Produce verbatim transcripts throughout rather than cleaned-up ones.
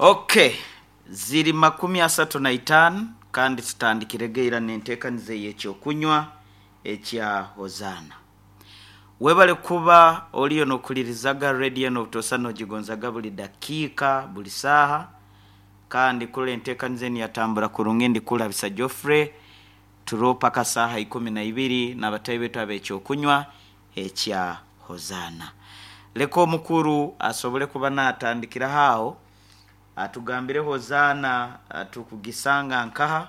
Okay, ziri makumi asatu na itaano, kandi tutandikire geira n'enteekaniza ey'ekyokunywa ekya Hozaana. Webale kuba oliyo n'okulirizaga rediyo n'obutosa n'ogigonzaga buli dakiika, buli saaha, kandi kule enteekaniza enu yatambura kurungi. Ndikulabisa Geoffrey turo paka saaha ikumi na ibiri n'abatayi betu ab'ekyokunywa ekya Hozaana. Leka omukuru asobole kuba natandikiraho aho atugambire Hozaana tukugisanga nkaha,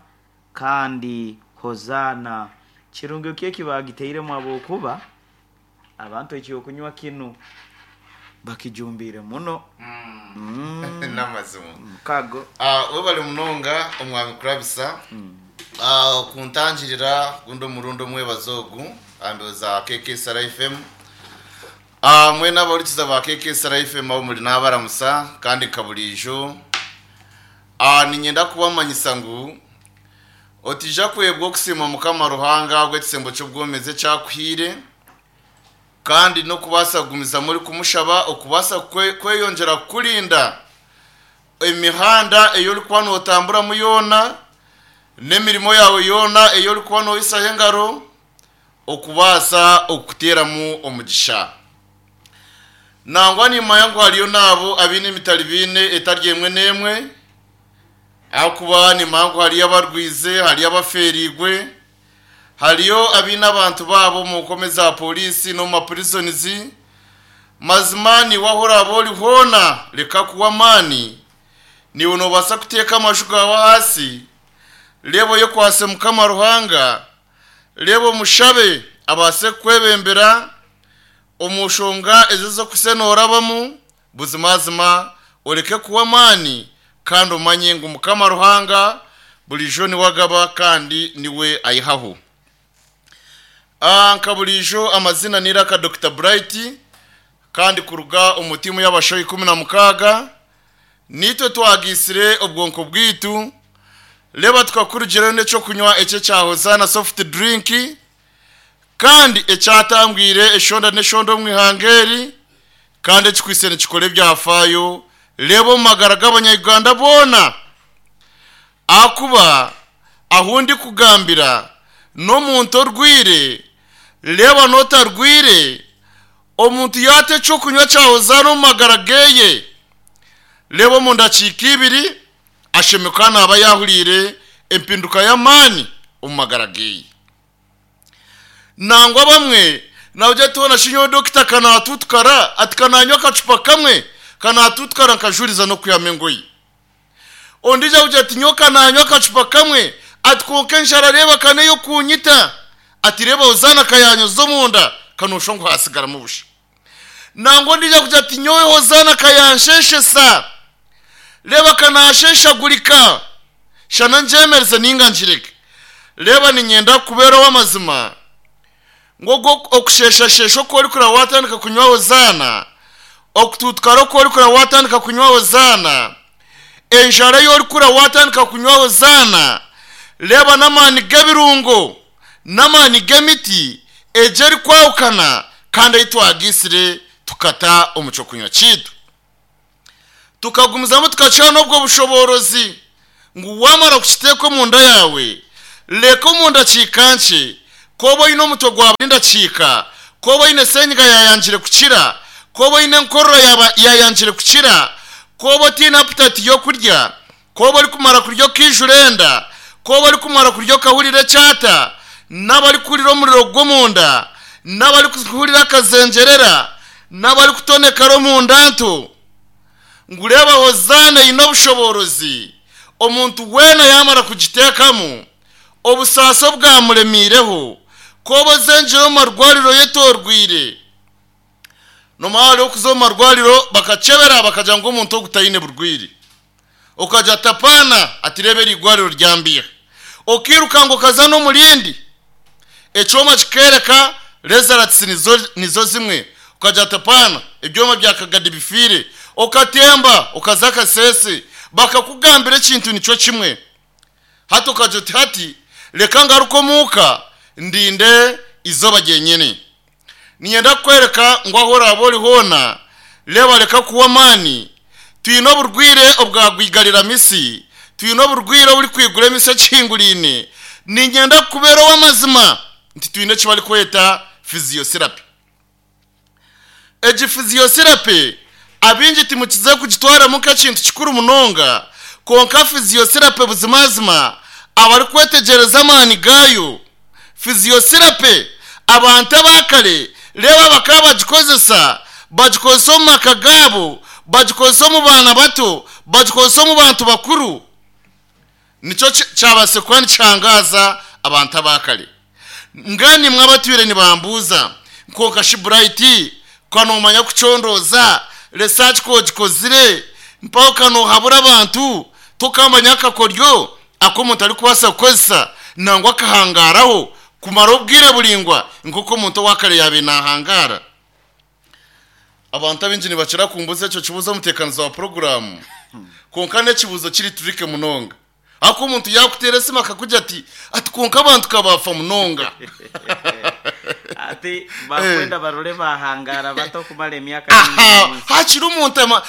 kandi Hozaana kirungi ki ekibagiteiremu, habwokuba abantu ekyokunywa kinu bakijumbiire muno. Mm. N'amazima. Mukago. Ah, webale munonga omwami kurabisa. Ah, kuntangirira gundi omurundi omwebazo ogu ambezo K K S R F M. Ah, mwena abahurikiza ba K K S R F M abo muri n'abaramusa, kandi nka burijo Ah, ninyenda kubamanyisa ngu otija kwebwa okusiima Mukama Ruhanga gw'ekisembo ky'obwomezi ekyakuhiire, kandi n'okubaasa kugumizamu ori kumushaba okubaasa kwe- kweyongyera kukurinda emihanda ei orikuba nootamburamu yoona n'emirimo yawe yoona ei orikuba nooyisaho engaro, okubaasa okuteeramu omugisha. Nangwa nimanya ngu hariyo naabo abaine emitari biine etari emwe n'emwe, ahakuba nimanya ngu hariyo abarwize, hariyo abafeerigwe, hariyo abaine abantu baabo omu nkome za polisi n'omu maprisons. Mazima niwe aho oraaba ori hoona, reka kuwa amaani. Niwe noobaasa kuteeka amaju gaawe ahaasi, reeba oyekwase Mukama Ruhanga, reeba omushabe abaase kukwebembera omu nshonga ezo ez'okuse noorabamu. Buzimazima oreke kuwa amaani, kandi omanye ngu Mukama Ruhanga burijo niwe agaba kandi niwe ayihaho. Ah, nka burijo amazina niraka Doctor Bright, kandi kuruga omu tiimu y'abashaho ikumi na mukaaga, nitwe twagiisire obwonko bwitu, reba tukakurugirayo n'ekyokunywa ekyo ekya Hozaana soft drink, kandi ekyatangwire eshonda n'eshonda omu ihanga eri, kandi ekikwise nikikora ebyafaayo, reeba omu magara g'Abanyayuganda boona, ahakuba ahu ndikugambira n'omuntu orwire, reeba n'otarwire, omuntu yaata ekyokunywa kya Hozaana omu magara geye, reeba omu ndakiika ibiri ashemererwa naaba yahuriire empinduka y'amaani omu magara geye. Nangwa bamwe nabyo tubona shinyo dokita kanatutukara ati kananywa akacupa kamwe kanatutukara nkajuriza n'okwihamu engoyi. Ondiijo akugira ati nyowe kananywa akacupa kamwe, ati konka enjara reeba kaneyo kunyita, ati reeba Hozaana kayanyoza omunda kanosha ngu hasigaramu busha. Nangwa ondiijo akugira ati nyowe Hozaana kayansheshesa, reeba kanasheshagurika shana ngyemereze ninga ngireke. Reeba ninyenda kubeera ow'amazima ngu ogwo okusheshashesha oku orikureba watandika kunywa Hozaana, okututukara oku orikureba watandika kunywa Hozaana, enjara ei orikura watandika kunywa Hozaana, reeba n'amaani g'ebirungo n'amaani g'emiti egyo erikwahukana, kandi ei twagiisire tukata omu kyokunywa kiitu, tukagumizamu tukakiha n'obwo bushoboorozi ngu wamara kukiteeka omunda yawe, reka omu ndakiika nkye, koba oine omutwe gwa buri ndakiika, koba oine senyiga yayangire kukira, koba oine enkorora yaba yayangire kukira, koba otiine appetite y'okurya, koba orikumara kurya okaijura enda, koba orikumara kurya okahurira ekyata, n'abarikuhurira omuriro gw'omunda, n'abarikuhurira akazengyerera, n'abarikutonekara omunda nto, ngu reeba Hozaana eine obushoboorozi. Omuntu weena yamara kugiteekamu, obusaasi obwamuremiireho, koba ozengire omu marwariro yetorwire nomara hariho okuza omu marwariro bakacebera bakagira ngu omuntu ogu taine burwire, okagira tapaana ati reeba eri igwariro ryambiha, okiruka ngo okaza n'omurindi, ekyoma kikereka results nizo, nizo zimwe, ukagira tapaana ebyoma bya Kagadi bifiire, okatemba okaza Akasese bakakugambira ekintu nikyo kimwe. Hati ukagira uti hati reka ngaruke omuuka ndinde izooba ryenyine. Ninyenda kukwereka ngu aho oraaba ori hoona, reeba reka kuwa amaani. Twine oburwire obwagwigarira misi, twine oburwire oburi kwigura emisi ekihingurine. Ninyenda kubera ow'amazima nti twine eki barikweta physiotherapy. Egi physiotherapy abingi timukize kugitwaramu nk'ekintu kikuru munonga, konka physiotherapy buzimazima abarikwetegyereza amaani gayo. Physiotherapy abantu abakare reba bakaba bagikozesa, bagikozesa omu maka gaabo, bagikozesa omu baana bato, bagikozesa omu bantu bakuru. Nikyo kyabase kuba nikihangaza abantu abakare. Ngani mwabatwire nibambuza nkonka shi Bright kanomanya kucondoza research kogikozire mpaho kanohabura abantu tokamanya akakoryo ako omuntu arikubaasa kukozesa nangwa akahangaraho kumara obwire buringwa nk'uko omuntu owakare yabe nahangara. Abantu abingi nibakira kumbuza ekyo kibuzo omuteekanizo wa poroguramu, konka n'ekibuzo kiri turike munonga. Ako omuntu yakuteera esimu akakugira ati ati konka abantu kabafa munonga. Ati bakwenda barore bahangara bato kumara emyaka mingi. Hakiri omuntu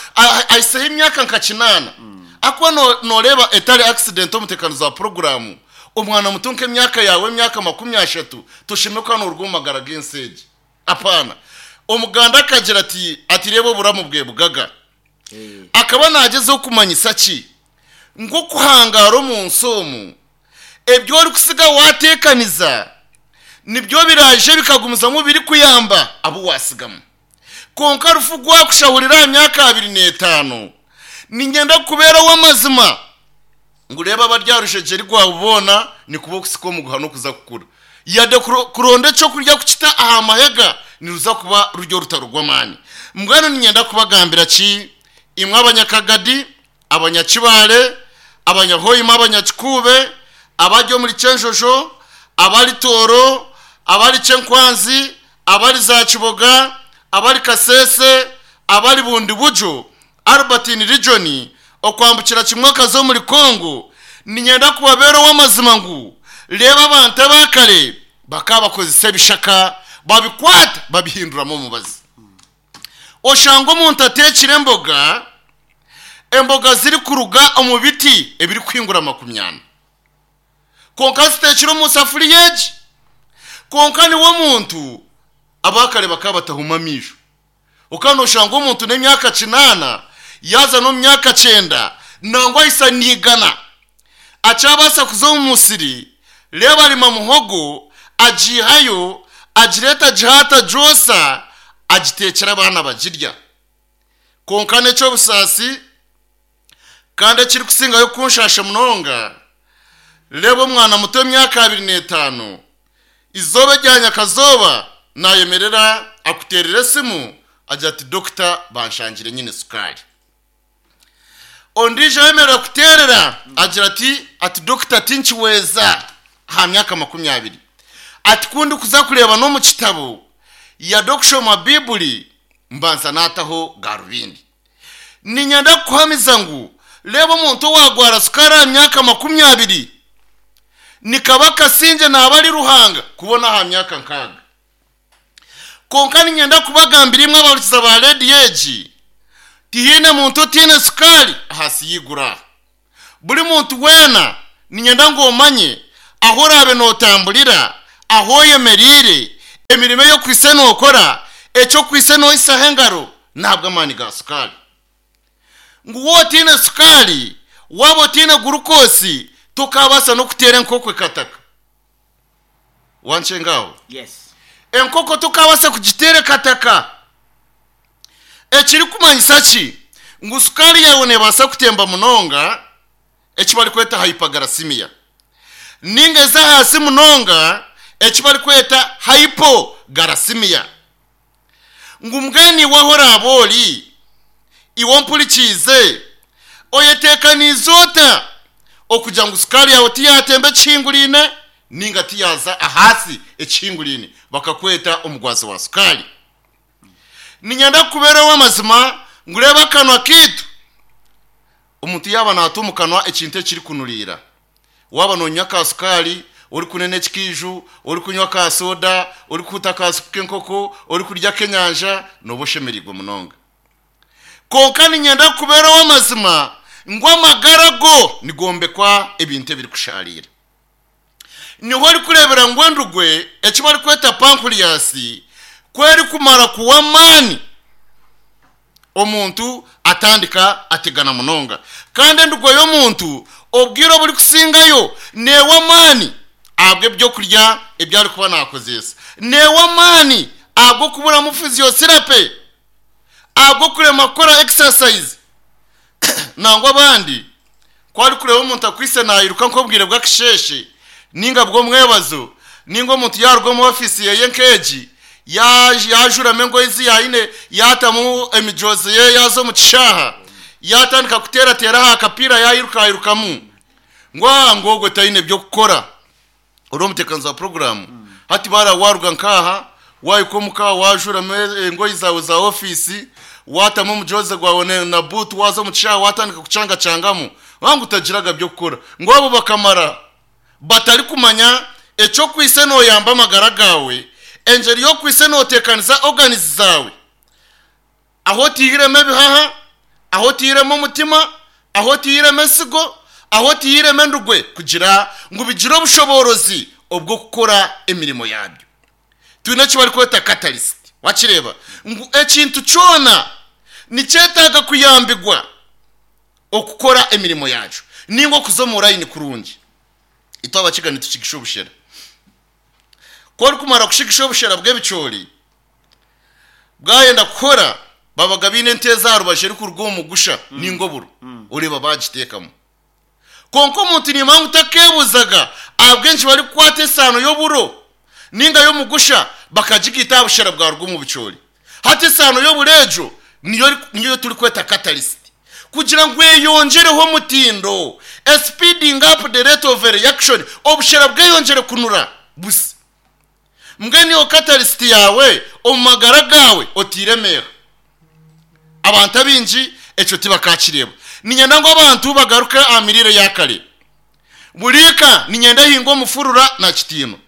aiseho emyaka nka kinaana. Akuba noreeba etari accident omuteekanizo wa poroguramu, omwana muto nk'emyaka yawe emyaka makumi ashatu toshime ko hano oruga omu magara g'ensi egi. Apana. Omuganda akagira ati ati reba oburamu bwe bugaga. Akaba nagezeho kumanyisa ki nk'okuhangara omu nsi omu ebyo orikusiga wateekaniza nibyo biraje bikagumizamu biri kuyamba abo wasigamu. Konka rufu gwakushahurira aha myaka abiri n'etaano. Ninyenda kubera w'amazima ngureba abaryarushegeri rwabubona nikuba okusika omuguha n'okuza kukura. Yade kuronda ekyokurya kukita aha mahega niruza kuba ruryo rutaro rw'amaani. Mbwenu ninyenda kubagambira ki imwe abanyakagadi, abanyakibare, abanyahoima, abanyakikube, abari omuri Kyenjojo, abari Toro, abari Kyenkwanzi, abari za Kiboga, abari Kasese, abari Bundi Bujo, Albertine Region, okwambukira kimwe akaza muri Kongo. Ninyenda kubabera w'amazima ngu reba abantu abakare bakabakozesa ebishaka babikwata babihinduramo omubazi. Oshanga omuntu atekire emboga, emboga ziri kuruga omu biti ebiri kuhingura makumyana, konka zitekire omu safuriya egi. Konka niwe omuntu abakare bakaba batahuma amisho. Okandi oshanga omuntu n'emyaka kinaana yaza n'omu myaka kyenda nangwa ahisa niigana akyabasa kuza omu musiri, reba arima muhogo agihayo agireta agihata agyosa agitekera abaana bagirya. Konka n'ekyobusaasi kandi ekirikusingayo kunshasha munonga, reba omwana muto w'emyaka abiri n'etaano izooba rya nyakazooba nayemerera akuteerera esimu agira ati dokita banshangire nyine sukari. Ondiijo ayemerera kuteerera agira ati ati dokita tinkiweeza aha myaka makumi abiri. Ati kundi kuza kureeba n'omu kitabo yade okushoma Bibuli mbanza naataho garubindi. Ninyenda kukuhamiza ngu reba omuntu owagwara sukari aha myaka makumi abiri nikaba kasinge naaba ari Ruhanga kubona aha myaka nkaaga. Konka ninyenda kubagambira imwe abahurikiza ba rediyo egi, tihaine muntu otiine sukari ahansi y'igura. Buri muntu weena ninyenda ngu omanye aho oraabe nootamburira, aho oyemereire, emirimo ey'okwise nookora, ekyokwise noisaho engaro ntabwo amaani ga sukari. Ngu wowe otiine sukari, waaba otiine gurukosi, tokabaasa n'okuteera enkoko ekataka. Wanshengaho? Yes. Enkoko tokabaasa kugiteera ekataka. Ekirikumanyisa ki? Ngu sukari yawe neebaasa kutemba munonga, eki barikweta hyperglycemia, ninga eza ahansi munonga, eki barikweta hypoglycemia. Ngu mbwenu iwe aho oraaba ori, iwe ompurikiize, oyeteekaniize ota okugira ngu sukari yawe tiyatemba ekihingurine ninga tiyaza ahansi ekihingurine bakakweta omugwazi wa sukari. Ninyenda kubeeraho amazima ngu reba akanwa kiitu, omuntu yaaba naata omu kanwa ekintu ekirikunuriira, waaba noonywa ka sukari, orikunena ekikiiju, orikunywa ka soda, orikuhuta ka supu k'enkoko, orikurya k'enyanja, nooba oshemereirwe munonga. Konka ninyenda kubeeraho amazima ngu amagara go nigombekwa ebintu ebirikusharira. Niho orikureebera ngu endugwe eki barikweta pancreas kwerikumara kuwa amaani omuntu atandika ategana munonga. Kandi endugwe y'omuntu obwire oburikusingayo neewa amaani ahabw'ebyokurya ebi arikuba nakozesa, neewa amaani ahabw'okuburamu physiotherapy, ahabw'okurema kukora exercise. Nangwa abandi ku arikureeba omuntu akwise nairuka nk'obwire bw'akasheeshe ninga bw'omwebazo, ninga omuntu yaruga omu ofiisi yeye nk'egi yajuramu engoyi ezi yaine, yatamu emijozi ye, yaza omu kishaaha, yatandika kuteerateera aha kapiira, yayirukayirukamu ngu aha ngu ogwo taine by'okukora. Ori omuteekanizi wa poroguramu hati bara waruga nkaha wahika omuka wajuramu engoyi zawe za ofiisi, watamu omujozi gwawe na buutu, waza omu kishaaha watandika kucangachangamu wangu utagiraga by'okukora. Ngu abo bakamara batarikumanya ekyokwise noyamba amagara gawe, engeri y'okwise noteekaniza organizi zawe, aho otihiremu ebihaha, aho otihiremu omutima, aho otihiremu ensigo, aho otihiremu endugwe, kugira ngu bigire obushoborozi obw'okukora emirimo yabyo. Twine eki barikweta catalyst. Wakireeba ngu ekintu kyona nikyetaaga kuyambigwa okukora emirimo yakyo, ninga okuza omu layini kurungi. Itwe abakiga nitukigisha obushera. Ku orikumara kushigisha obushera bw'ebicoori bwayenda kukora, babaga biine ente aha rubaju erikuruga omu mugusha ninga oburo, oreeba bagiteekamu. Konka omuntu nimanya ngu takeebuzaga ahabw'enki barikukwata esaano y'oburo ninga y'omugusha bakagigaita aha bushera bwaruga omu bicoori. Hati esaano y'oburo egyo niyo niyo turikweta catalyst, kugira ngu eyongereho omutindo, speeding up the rate of reaction, obushera bweyongyere kunura busa. Mbwenu iyo catalyst yawe omu magara gawe otiiremeera. Abantu abaingi ekyo tibakakireeba. Niinyenda ngu abantu bagaruke aha miriire ya kare. Buriika niinyenda ehinga omufurura na kitiinwa.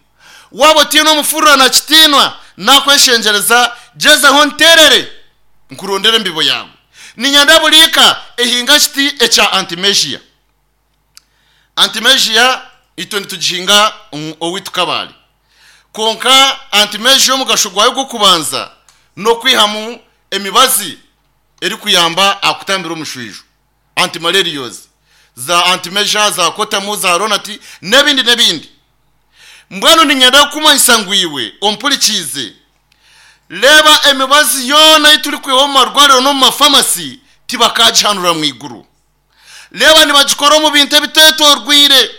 Waaba otiine omufurura na kitiinwa, nakweshengyereza gyezaho nterere nkurondere embibo yawe. Niinyenda buriika ehinga kiti ekya antimegia. Antimegia itwe nitugihinga owaitu Kabale. Konka antimegia omugasho gwayo gw'okubanza n'okwihamu emibazi erikuyamba aha kutambira omushwijo, antimalarials, za antimegia, za kotamu, za ronati n'ebindi n'ebindi. Mbwenu niinyenda kukumanyisa ngu iwe ompurikiize, reeba emibazi yoona ei turikwiha omu marwariro n'omu mafamasi tibakagihanura mu iguru. Reeba nibagikora omu bintu ebiteetoorwire,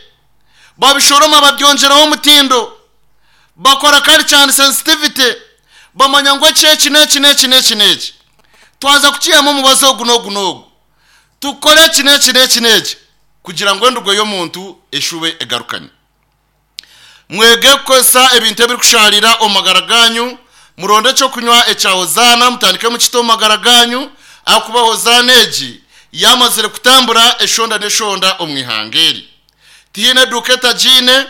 babishoroma babyongyeraho omutindo, bakora culture and sensitivity, bamanya ngu eki eki n'eki n'eki n'eki n'eki twaza kukihamu omubazi ogu n'ogu n'ogu, tukore eki n'eki n'eki n'eki kugira ngu endugo y'omuntu eshube egarukane. Mwege kukozesa ebintu ebirikusharira omu magara ganyu, muronde ekyokunywa ekya Hozaana mutandike mukite omu magara ganyu, ahakuba Hozaana egi yamazire kutambura eshonda n'eshonda omu ihanga eri. Tihaine eduuka etagiine,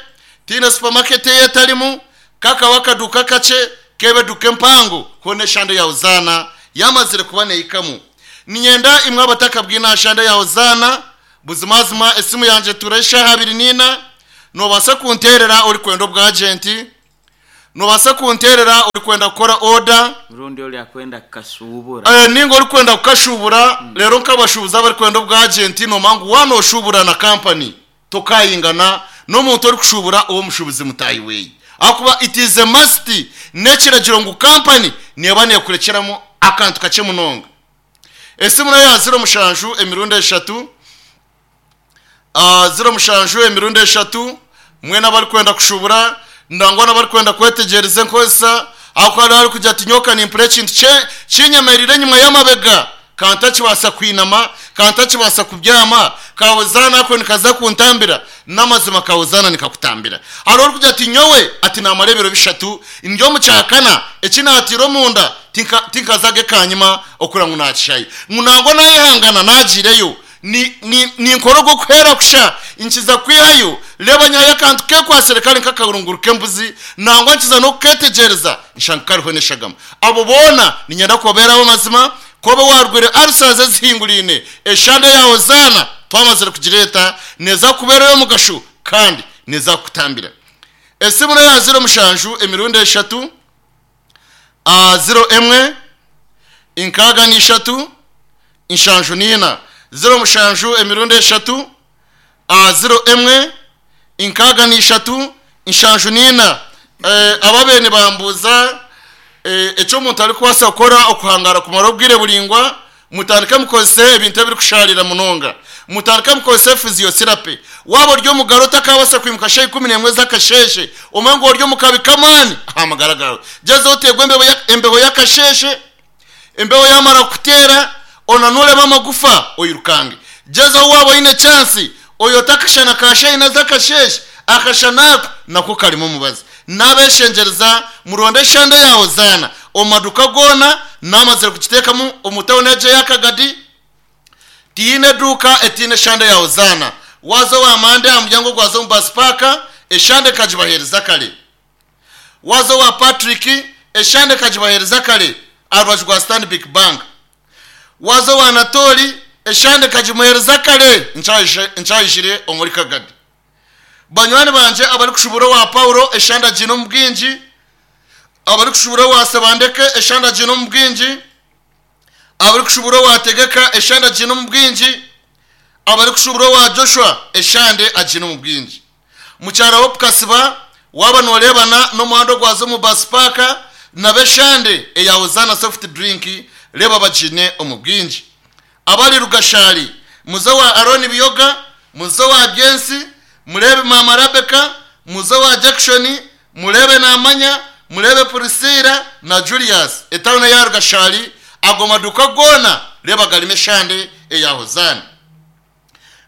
tihaine supermarket ei etarimu, kakaba akaduuka kakye kebe eduuka empango, hoona eshande ya Hozaana yamazire kuba neihikamu. Niinyenda imwe abatakabwine aha shande ya Hozaana, buzimazima esimu yangye etuura eshaaha abiri n'ina, noobaasa kunteerera orikwenda obwagenti, noobaasa kunteerera orikwenda kukora order, rundi ori akwenda kukashubura, Eh, ninga orikwenda kukashubura. Rero nk'abashubuzi abarikwenda obwagenti, nomanya ngu waanoshubura na kampani tokayingana n'omuntu orikushubura ow'omushubuzi mutaahi weeye, ahakuba it is a must, n'ekiragiro ngu kampani neeba neekurekyeramu akantu kakye munonga. Esimu nayo ya ziro mushanju emirundi eshatu, ah, ziro mushanju emirundi eshatu. Mwena abarikwenda kushubura nangwa n'abarikwenda kwetegyereza enkozesa, aho hari arikugira ati nyoka nimpura ekintu kye- kinyemerire enyuma y'amabega, kantakibaasa kwinama, kantakibaasa kubyama, kahozana ako nikaza kuntambira. N'amazima kahozana nikakutambira. Hari orikugira ati nyowe ati namara ebiro bishatu ndi omu kyakana, eki naatiire omunda tinka- tinkazaga ekanyima okura ngu nakishayo, ngu nangwa nayehangana nagiireyo ni ni ninkora ogw'okuheera kusha nkiza kwihayo. Reeba nyihayo akantu kekwasire kari nk'akarunguru k'embuzi, nangwa nkiza n'okuketegereza nshanga kariho n'eshagama. Abo boona niinyenda kubabeeraho amazima. Koba warwire ulcers ezihingurine, eshande ya Hozana twamazire kugireta, neza kubeerayo omugasho kandi neza kutambira. Esimu nayo ya ziro mushanju emirundi eshatu, a ziro emwe inkaga n'ishatu inshanju n'ina. Ziro mushanju emirundi eshatu, a ziro emwe inkaga n'ishatu inshanju n'ina. Eh, ababene bambuza eh, ecyo omuntu ari kubaasa kukora okuhangara kumara obwire buringwa. Mutandike mukozese ebintu ebirikusharira munonga, mutandike mukozese physiotherapy. Waba ori omugaro otakabasa kwimuka shaha ikumi n'emwe z'akasheshe, omwe ngu ori omu kabi k'amaani aha magara gawe, gyezaho oteerwe embeho ya- embeho y'akasheshe. Embeho yamara kuteera, onanuremu amagufa, oyirukange. Gyezaho waba oine chance oyote akashana ka shaina z'akasheshe, akashana ako nako karimu omubazi. Nabeshengereza muronde eshande ya Hozana omu maduka goona, namazire kugiteekamu omu tawuni egyo ey'akagadi. Tiine eduuka etiine eshande ya Hozana. Waza owa mande aha muryango gwaza omu bus park, eshande kagibaheereza kare. Waza owa Patrick, eshande kagibaheereza kare aha rubaju rwa Stanbic Bank. Waza owa Anatoli, eshande kagimuheereza kare nkyayijire omuri Kagadi. Banywani banje abarikushubura owa Paulo, eshande agiine omu bwingi. Abarikushubura owa Sebandeke, eshande agiine omu bwingi. Abarikushubura owa Tegeka, eshande agiine omu bwingi. Abarikushubura owa Joshua, eshande agiine omu bwingi. Mukyara Hope Kasiba, waba norebana n'omuhanda ogwaza omu bus park, nabo eshande eya Hozana soft drink reba bagiine omu bwingi. Abari Rugashari, muze wa Aroni Biyoga, muze wa Byensi, murebe mama Rebecca, muze wa Jackson, murebe Namanya, murebe Priscilla na Julius. Etawuni ya Rugashari, ago maduka gona reba garimo eshande eya Hozana.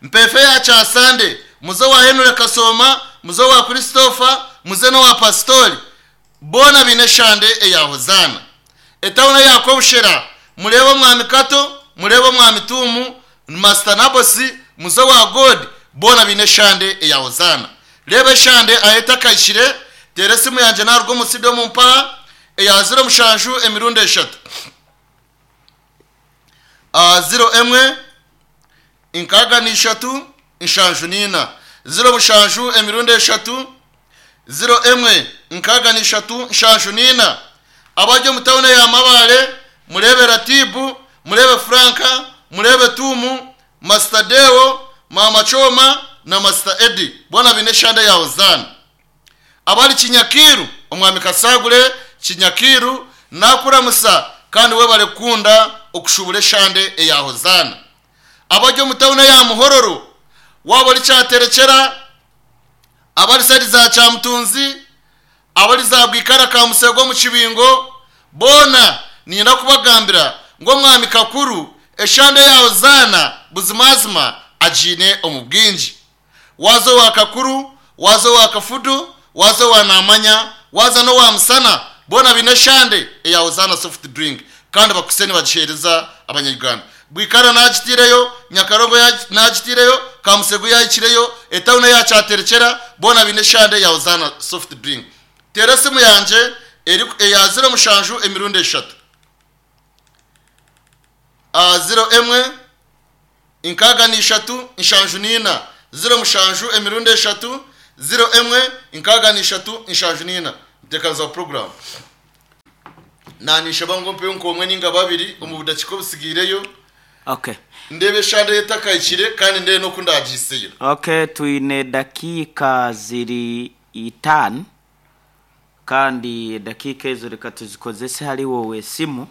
Mpefe ya Kyasande, muze wa Henry Kasoma, muze wa Christopher, muze no wa Pastori, bona bine eshande eya Hozana. Etawuni ya Kobushera, murebe omwami Kato, murebe omwami Tumu, Master Nabosi, muze wa God, bona bine eshande eya Hozana. Reba eshande aheta kayishire, tere esimu yanje narwo omusido omu mpaha eya ziro mushanju emirundi eshatu, a ziro emwe inkaga n'ishatu inshanju n'ina. Ziro mushanju emirundi eshatu, ziro emwe nkaga n'ishatu nshanju n'ina. Abajya omu tawuni ya Mabare, murebe Ratibu, murebe Franka, murebe Tumu, Master Deo, Mama Choma na Master Edi, bona bine eshande ya Hozana. Abari Kinyakiru, omwami Kasagure Kinyakiru, nakuramusa kandi we barekunda okushubura eshande eya Hozana. Abajya omu tawuni ya Muhororo, waba ori Kyaterekyera, abari sari za Kyamutunzi, abari za Bwikara ka Musego mu Kibingo, bona ninyenda kubagambira ngu omwami Kakuru eshande ya Hozana buzimazima agiine omu bwingi. Waza owa Kakuru, waza owa Kafudu, waza owa Namanya, waza n'owa Musana, bona bine eshande eya Hozana soft drink kandi bakuse nibagiheereza Abanyarwanda. Bwikara nagitireyo, Nyakarongo nagitireyo, Kamusego yayikireyo, etawuni ya Kyaterekyera, bona bine eshande ya Hozana soft drink. Tera esimu yanje eya ziro mushanju emirundi eshatu, a ziro emwe inkaga n'ishatu inshanju n'ina. Ziro mushanju emirundi eshatu, ziro emwe inkaga n'ishatu inshanju n'ina. Ntekaniza program nanisha bango mpeyo nkomwe ninga babiri omu budakika obusigiireyo. Okay. Ndebe eshande etakayikire kandi ndebe n'oku ndagiiseyo. Okay, twine dakika ziri itaano, kandi dakika ezo reka tuzikozese hali wowe esimu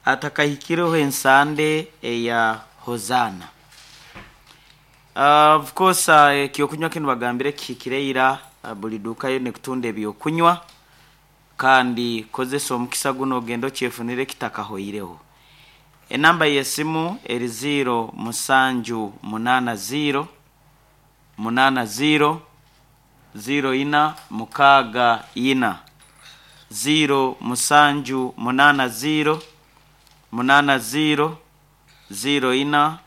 atakahikireho ensande eya Hozana. Uh, of course, uh, ekyokunywa kinu bagambire kihikire ira, uh, buli duka yo nekutunda ebyokunywa, kandi kozesa omukisa guno ogende okyefunire kitakahoireho. Enamba y'esimu eri ziro musanju munana ziro munana ziro ziro ina mukaaga ina, ziro musanju munana ziro munana ziro ziro ina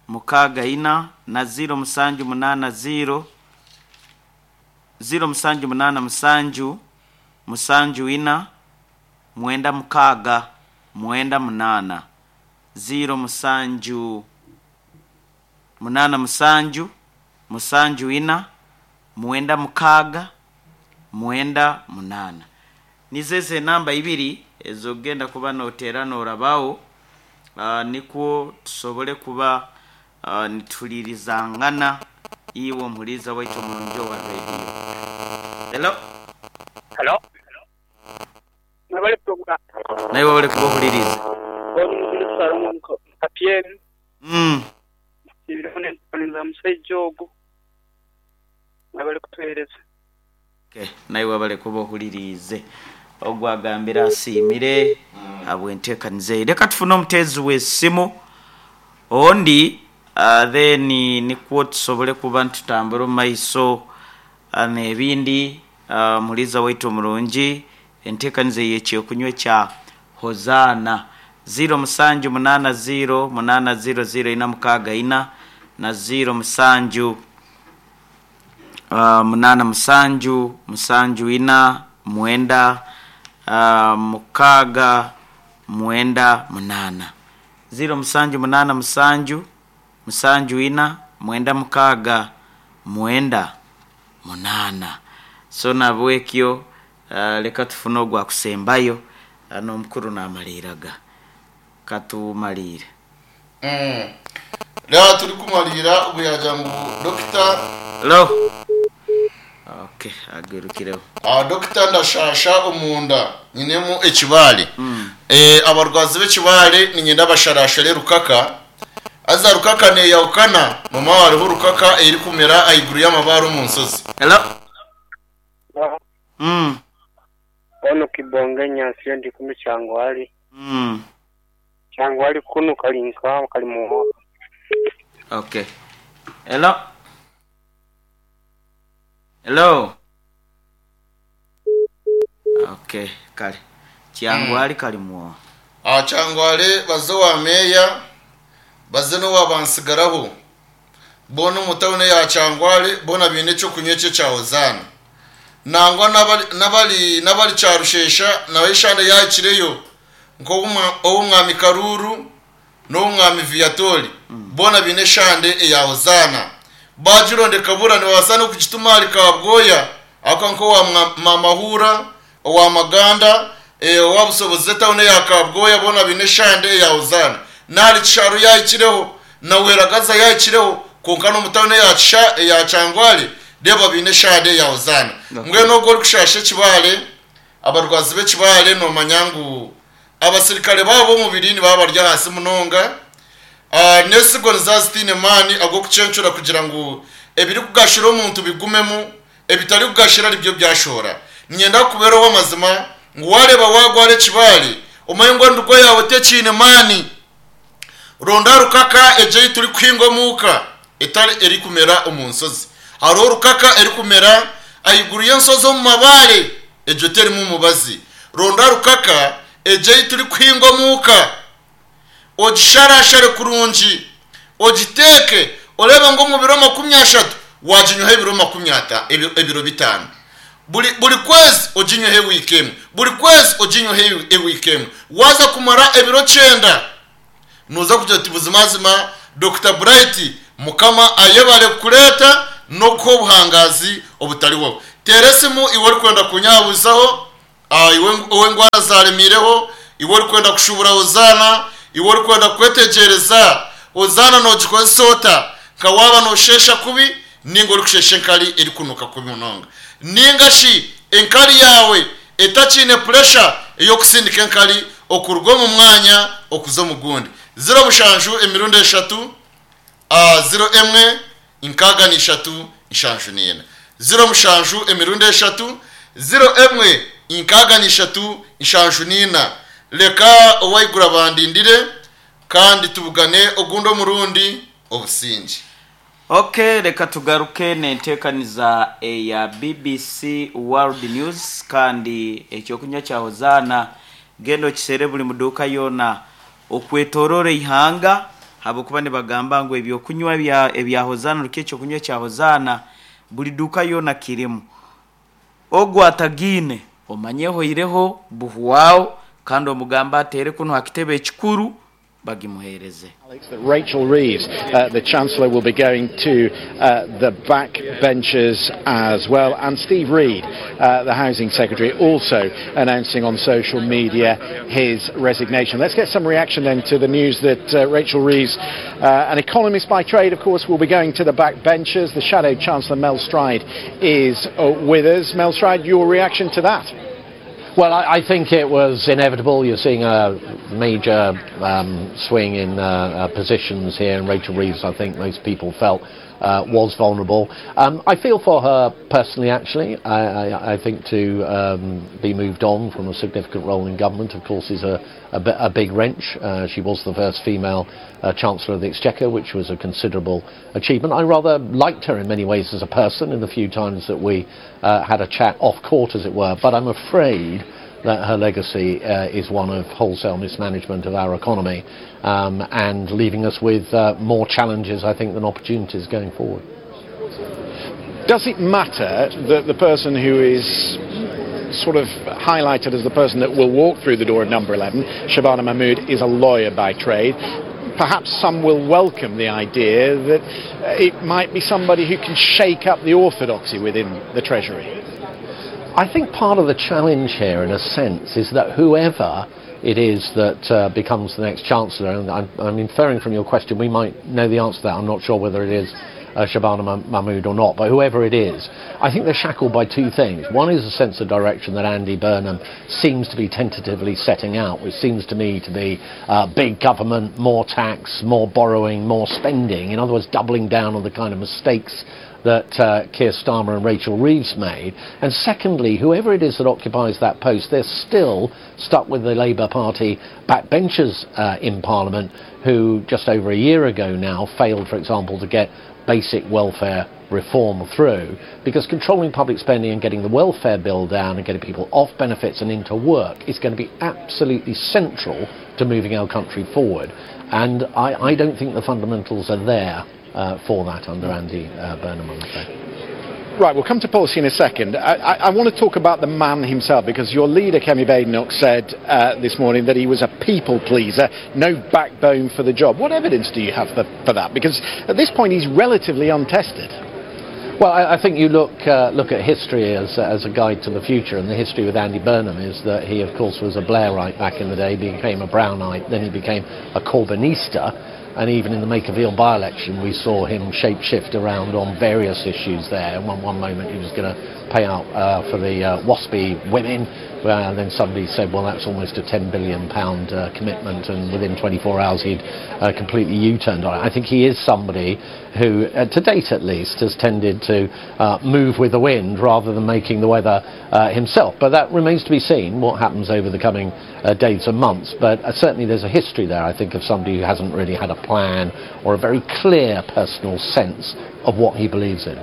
mukaaga ina, na ziro musanju munana ziro ziro musanju munana musanju musanju ina mwenda mukaaga mwenda munana. ziro musanju munana musanju musanju ina mwenda mukaaga mwenda munana. Nizeze namba ibiri ezogenda kuba notera norabaho, uh, nikwo tusobole kuba uh, nitulirizangana iwe omuhuriza waitu omurungi owa radio. Hello. Hello. Mwebale program. Nawe wabale kuba ohuririze. Kapyeni. Mm. Ibirone musajja ogu. Mwebale kutuhereza. Okay. Nawe wabale kuba ohuririze. Ogwo agambira asiimire habw'enteekaniza. Reka tufune omuteezi w'essimu ondi, uh, then nikwo tusobole kuba ntutambura omu maiso uh, n'ebindi. uh, muliza waitu omurungi, enteekaniza y'ekyokunywa kya Hozaana ziro musanju munana ziro munana ziro ziro ina mukaaga ina na ziro musanju uh, munana musanju musanju ina mwenda uh, mukaaga mwenda munana. Ziro musanju munana musanju musanju ina mwenda mukaaga mwenda munana. So nabwekyo uh, leka tufune ogwa kusembayo uh, n'omukuru namaliraga katumalire. Mm. Leo turi kumalira obuyaja ngu dokita. Lo. Okay, agerukireho. Ah, dokita ndashasha omunda nyinemu ekibale. Mm. Eh, abarwazi b'ekibale ninyenda basharashere rukaka. Aza rukaka ne yaukana mama wariho rukaka eri kumera aiguru y'amabaro mu nsozi. Hello. Mm. Ono kibonge nyansi ndi kunu kyangwali. Mm. Kyangwali kunu kalinka kalimu. Okay. Hello. Hello. Okay, kale. Kyangwali mm. Kalimu. Ah, kyangwali bazo wa meya baze no wabansigaraho. Bono mutawune ya kyangwali bona bine cyo kunyece cya Hozana. Nangwa nabali nabali nabali cyarushesha nawe ishande yakireyo nko umwami Karuru no umwami Viatori. Mm. Bona bine shande ya Hozana. Bajironde kabura ni wasana kukitumali kabgoya akanko wa mamahura wa maganda e wa busoboze tawune ya kabgoya bona bine shande ya Hozana. Nali kisharu yakireho na weragaza yakireho konka no mutawune ya kisha ya cyangwali deba bine shade ya Hozana. Mwe no gol kushashe kibale abarwazi be kibale no manyangu abasirikare babo mubiri ni babarya hasi munonga. Uh, nesigo nzazitine mani ago kucencura kugira ngo ebiri kugashira omuntu bigumemu ebitari kugashira ari byo byashora. Nyenda kubero w'amazima ngo wareba wagware kibale umayingwa ndugo yawe tekine mani ronda rukaka eje turi kwingomuka etari eri kumera omunsozi. Haro rukaka eri kumera ayiguru y'ensozi mu mabare ejo teri mu mubazi. Ronda rukaka eje turi kwingomuka ogisharashare kurungi ogiteke oreba ngo mu biro makumi ashatu wajinyuhe ebiro makumi ata ebiro bitano buri buri kwezi ojinyuhe weekend buri kwezi ojinyuhe weekend waza kumara ebiro cyenda nuza kugira ati buzimazima Doctor Bright mukama ayebale kureta no ko buhangazi obutari wowe. Teresimu iwe uri kwenda kunyabuzaho, iwe iwe ngwara zaremireho, iwe uri kwenda kushubura Hozana, iwe uri kwenda kwetegereza Hozana no gikozota kawaba no shesha kubi ningo uri kushesha enkari eri kunuka kubi munonga ninga shi enkari yawe etachine pressure eyo kusindika enkari okurwa mu mwanya okuzo mugundi. Zero mushanju emirundi eshatu a zero emwe inkaga ni eshatu inshanju nina. Zero mushanju emirundi eshatu zero emwe inkaga ni eshatu inshanju nina. Leka owaigura bandindire kandi tubugane ogundo murundi obusingi. Okay, reka tugaruke nentekaniza eya B B C World News kandi ekyokunywa kya Hozana gendo kisere buli muduka yona okwetorore ihanga habokuba nibagamba ngo ebyokunywa bya ebya Hozana rukye kunywa kya Hozana buli duka yona kirimu. Ogwa atagine omanyeho ireho buhuwao kandi omugamba atere kuno hakitebe ekikuru Bagimuhereze. Alex, that Rachel Reeves, uh, the Chancellor, will be going to uh, the back benches as well. And Steve Reed, uh, the Housing Secretary, also announcing on social media his resignation. Let's get some reaction then to the news that uh, Rachel Reeves, uh, an economist by trade, of course, will be going to the back benches. The Shadow Chancellor, Mel Stride, is uh, with us. Mel Stride, your reaction to that? Well, I, I think it was inevitable. You're seeing a major um, swing in uh, uh, positions here, and Rachel Reeves, I think most people felt, uh, was vulnerable. Um, I feel for her personally, actually. I, I, I think to um, be moved on from a significant role in government, of course, is a, a, a big wrench. Uh, she was the first female uh, Chancellor of the Exchequer, which was a considerable achievement. I rather liked her in many ways as a person in the few times that we uh, had a chat off court, as it were, but I'm afraid that her legacy uh, is one of wholesale mismanagement of our economy um, and leaving us with uh, more challenges, I think, than opportunities going forward. Does it matter that the person who is sort of highlighted as the person that will walk through the door of number eleven, Shabana Mahmood, is a lawyer by trade? Perhaps some will welcome the idea that it might be somebody who can shake up the orthodoxy within the Treasury. I think part of the challenge here, in a sense, is that whoever it is that uh, becomes the next Chancellor, and I'm, I'm inferring from your question we might know the answer to that, I'm not sure whether it is uh, Shabana Mahmood or not, but whoever it is, I think they're shackled by two things. One is a sense of direction that Andy Burnham seems to be tentatively setting out, which seems to me to be uh, big government, more tax, more borrowing, more spending. In other words, doubling down on the kind of mistakes that uh, Keir Starmer and Rachel Reeves made. And secondly, whoever it is that occupies that post, they're still stuck with the Labour Party backbenchers uh, in Parliament who just over a year ago now failed, for example, to get basic welfare reform through, because controlling public spending and getting the welfare bill down and getting people off benefits and into work is going to be absolutely central to moving our country forward. And I, I don't think the fundamentals are there uh, for that under Andy uh, Burnham, I'm afraid. Right, we'll come to policy in a second. I, I, I want to talk about the man himself, because your leader, Kemi Badenoch, said uh, this morning that he was a people pleaser, no backbone for the job. What evidence do you have for, for that? Because at this point he's relatively untested. Well, I, I think you look, uh, look at history as, as a guide to the future, and the history with Andy Burnham is that he, of course, was a Blairite back in the day, became a Brownite, then he became a Corbynista. And even in the Makerfield by-election, we saw him shape-shift around on various issues there. In one, one moment, he was gonna pay out, uh, for the, uh, WASPI women, uh, and then somebody said, well, that's almost a ten billion pound, uh, commitment, and within twenty-four hours, he'd, uh, completely U-turned on it. I think he is somebody who, uh, to date at least, has tended to, uh, move with the wind rather than making the weather, uh, himself. But that remains to be seen, what happens over the coming, uh, days and months. But, uh, certainly there's a history there, I think, of somebody who hasn't really had a plan or a very clear personal sense of what he believes in.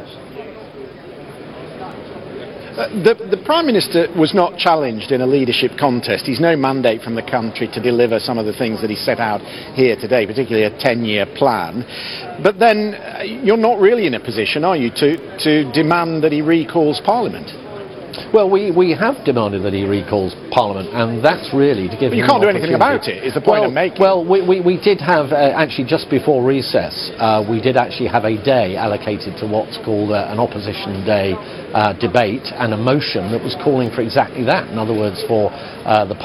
Uh, the, the Prime Minister was not challenged in a leadership contest. He's no mandate from the country to deliver some of the things that he set out here today, particularly a ten-year plan. But then, uh, you're not really in a position, are you, to, to demand that he recalls Parliament? Well, we, we have demanded that he recalls Parliament, and that's really to give But you him can't an do anything opportunity. about it, is the point Well, I'm making. Well, we, we, we did have, uh, actually just before recess, uh, we did actually have a day allocated to what's called, uh, an opposition day, uh, debate and a motion that was calling for exactly that. In other words, for, uh, the